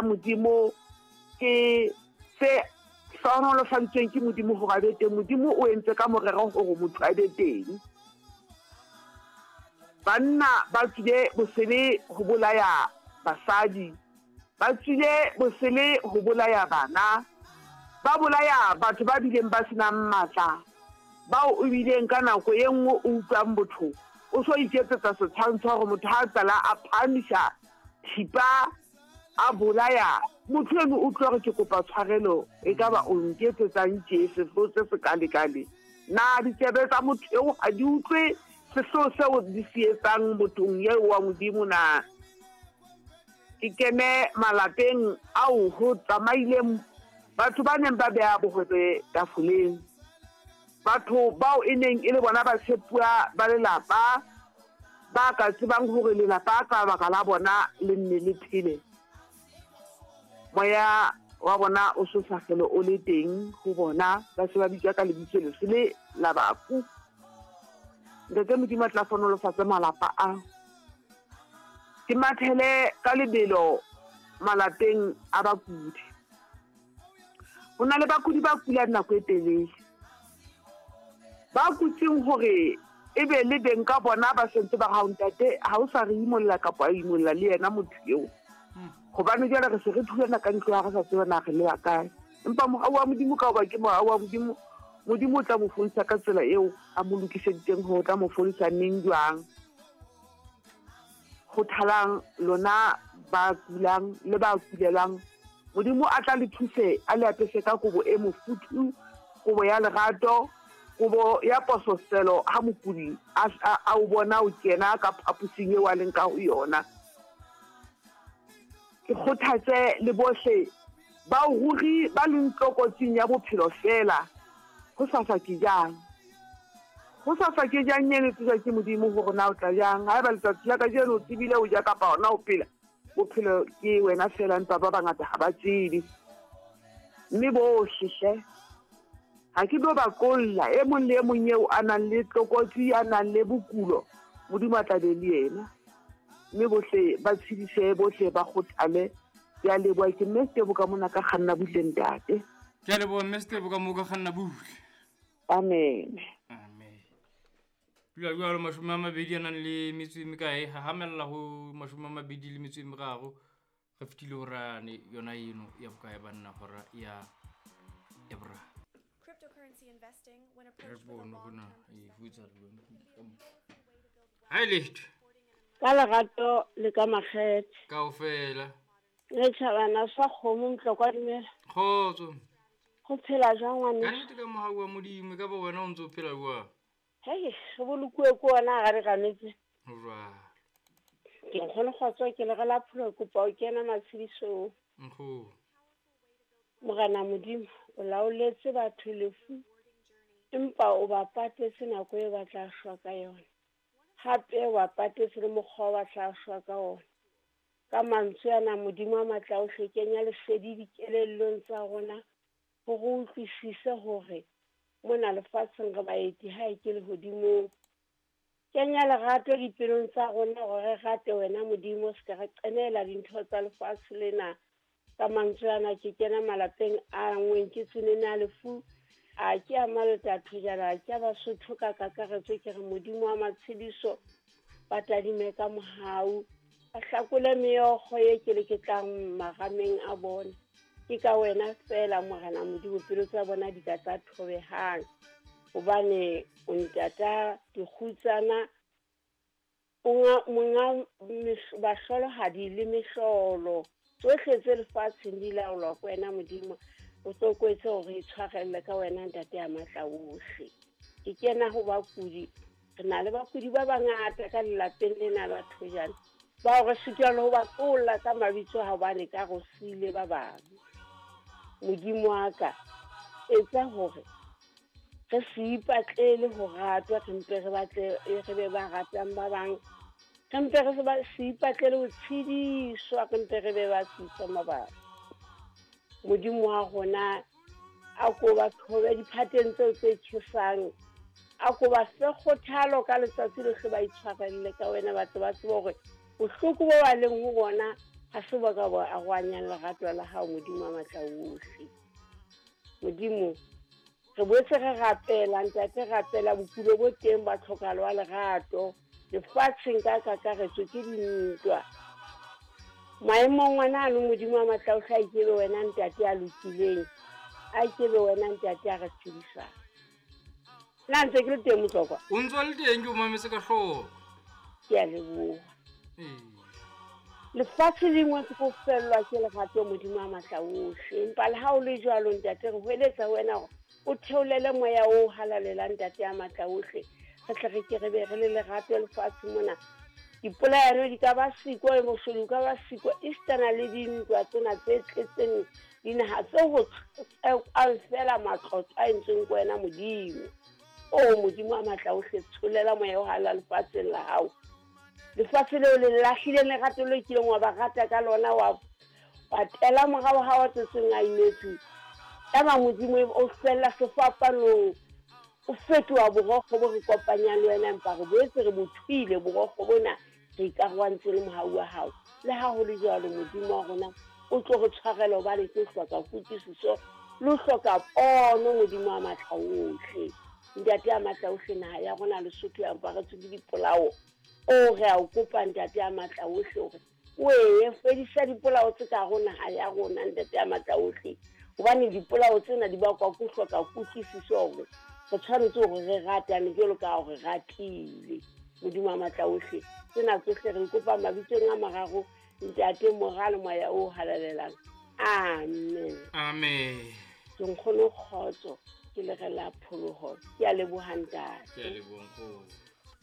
Modimo ke se hlohonolofaditsweng ke Modimo hore a be teng. Modimo o entse ka morero hore motho a be teng. Banna ba tswile bosele ho bolaya basadi, ba tswile bosele ho bolaya bana, ba bolaya batho ba bileng ba se nang matla, bao o bileng ka nako e nngwe o utlwang botho o so iketsetsa setshwantsho hore motho ha a qala a phahamisa thipa a bolaya motho eno o tlo re ke kopa tshwarelo e ka ba o nketsetsang tjee sehloho se se kalekale na ditsebe tsa motho eo ha di utlwe sehloho seo di se etsang mothong eo wa modimo na ke kene malapeng ao ho tsamaileng batho ba neng ba beha bohwebe tafoleng batho bao e neng e le bona batshepuwa ba lelapa ba ka tsebang hore lelapa ka baka la bona le nne le phele. Moya wa bona o so sa hlole o le teng ho bona, ba se ba bitswa ka lebitso lesele la bafu. Ntate Modimo a tla hlohonolofatse malapa a. Ke mathele ka lebelo malapeng a bakudi. Ho na le bakudi ba kulang nako e telele. Ba kutseng hore e be le beng ka bona ba sentse ba re hao ntate ha o sa re imolla kapa a imolla le yena motho eo. Hobane jwale re se re thulana ka ntlo ha re sa tsebe na re leba kae. Empa mohau wa Modimo ka hoba ke mohau wa Modimo, Modimo o tla mo fodisa ka tsela eo a mo lokiseditseng hore o tla mo fodisa neng jwang. Kgothalang lona ba kulang le ba kulelwang. Modimo a tla le thuse, a le apese ka kobo e mofuthu, kobo ya lerato, kobo ya pososelo ha mokudi a, a, a o bona o kena ka phaposing eo a leng ka ho yona. Ke kgothatse le bohle bao ruri ba leng tlokotsing ya bophelo feela. Hosasa ke jang? Hosasa ke jang eno tsejwa ke Modimo hore na o tla jang. Haeba letsatsi la kajeno o tsebile ho ja kapa hona ho phela, bophelo ke wena feela, empa ba bangata ha ba tsebe. Mme bohle hle, ha ke tlo ba kolla, e mong le e mong eo a nang le tlokotsi, a nang le bokulo, Modimo a tla be le yena. Mme bohle ba tshedise, bohle ba kgothale. Ke a leboha, ke Mme Setebo ka mona ka kganna butle ntate. Ke a leboha Mme Setebo ka moo ka kganna butle. Amen. Amen. Dula jwalo 20 a nang le metso e mekae hahamella ho 23 re fetile horane yona eno ya bokae banna hora ya ya boraro. Re bone hore na e ho etsahala jwang. Ha e letho. Ka lerato le ka makgethe. Kaofela. Le tjhabana sa kgomo Mtlokwa dumela. Kgotso. Go phela jwang ngwaneso? Ka nnete ka mohau wa Modimo, e ka ba wena o ntse o phela jwang? Hei, re bolokuwe ke ona ga re ganetse. Ho jwalo. Ke nkgono kgotso ke le re la pholo kopa o kena matshedisong. Nkgono. Morena Modimo, o laoletse batho lefu, empa o ba patetse nako e ba tla shwa ka yona. Hape o ba patetse le mokgwa o ba tla shwa ka ona. Ka mantswe ana, Modimo a matla ohle, kenya lesedi dikelellong tsa rona hore re utlwisise hore mona lefatsheng re baeti ha e ke lehodimong. Kenya lerato dipelong tsa rona hore re rate wena Modimo, se ka re qenehela dintho tsa lefatshe lena. Ka mantswe ana ke kena malapeng a angweng ke tsenene a lefu, a ke a Malta thojana, a ke a Basotho ka kakaretso, ke re Modimo wa matshediso ba tadime ka mohau, ba hlakole meokgo e keleketlang marameng a bona. Ke ka wena feela Morena Modimo pelo tsa bona di ka tsa thobehang, hobane o ntata dikgutsana Monga, monga bahlolohadi le mehlolo, tsohle tse lefatsheng di laolwa ke wena Modimo. O tlokoetse hore re itshwarelle ka wena Ntate ya matla ohle. Ke kena ho bakudi, re na le bakudi ba bangata ka lelapeng lena la Thojane, bao re sitwa le ho ba qolla ka mabitso hobane ka re siile ba bang. Modimo wa ka, etsa hore Re se ipatlele ho ratwa, re mpe re batle re be ba ratang ba bang. Re mpe re se ipatlele ho tshediswa, re mpe re be ba tshedisang ba bang. Modimo wa rona a ko ba thobe diphateng tseo tse tjhesang, a ko ba fe kgothalo ka letsatsi lohle, ba itshwarelle ka wena, ba tle ba tsebe hore bohloko bo ba leng ho bona Ha se ba ka bo arohanyang lerato la hao, Modimo wa matla ohle. Modimo, re boetse re rapela, Ntate, rapela bokulo bo teng ba tlhokahalo ya lerato lefatsheng ka kakaretso ke dintwa. Maemong ana ano, Modimo wa matla ohle, a ikebe wena Ntate a lokileng, a ikebe wena Ntate a re tshedisang. Na ntse ke le teng, Motlokwa? O ntse o le teng, ke o mametse ka hloko. Ke a leboha. Lefatshe le ngwetse ko fellwa ke lerato, Modimo wa matla ohle. Empa le ha o le jwalo, Ntate, re hweletsa ho wena hore o theolele moya o halalelang, Ntate ya matla ohle, re tle re ke re be re le lerato lefatshe mona. Dipolayano di ka ba siko, boshodu ka ba siko, esitana le dintwa tsena tse tletseng dinaha tse ho tsekwang fela matlotlo a entsweng ke wena, Modimo. O Modimo wa matla ohle, tsholela moya o halala lefatsheng la hao. Lefatshe leo le lahlileng lerato le kileng wa ba rata ka lona, wa tela morao ha wa tswetsweng a inetswe. Yaba Modimo o fella sefapanong, o fetoha borokgo bo re kopanyang le wena, empa re boetse re bo thuile borokgo bona, re ikarohantse le mohau wa hao. Le ha ho le jwalo, Modimo wa rona, o tlo re tshwarela hobane ke hloka kutlwisiso le ho hloka pono, Modimo wa matla ohle. Ntate ya matla ohle, naha ya rona Lesotho ya aparetswe ke dipolao. O re a o kopa, Ntate ya matla ohle, hore o ee fedisa dipolao tse ka ho naha ya rona, Ntate ya matla ohle, hobane dipolao tsena di bakwa ke ho hloka kutlwisiso hore re tshwanetse hore re ratane jwalo ka ha re ratile. Modimo wa matla ohle, tsena tsohle re kopa mabitsong a mararo, Ntate, Mora le Moya o halalelang. Amen. Amen. Ke nkgono kgotso, ke le re la pholoho. Ke a leboha, Ntate. Ke a leboha, nkgono.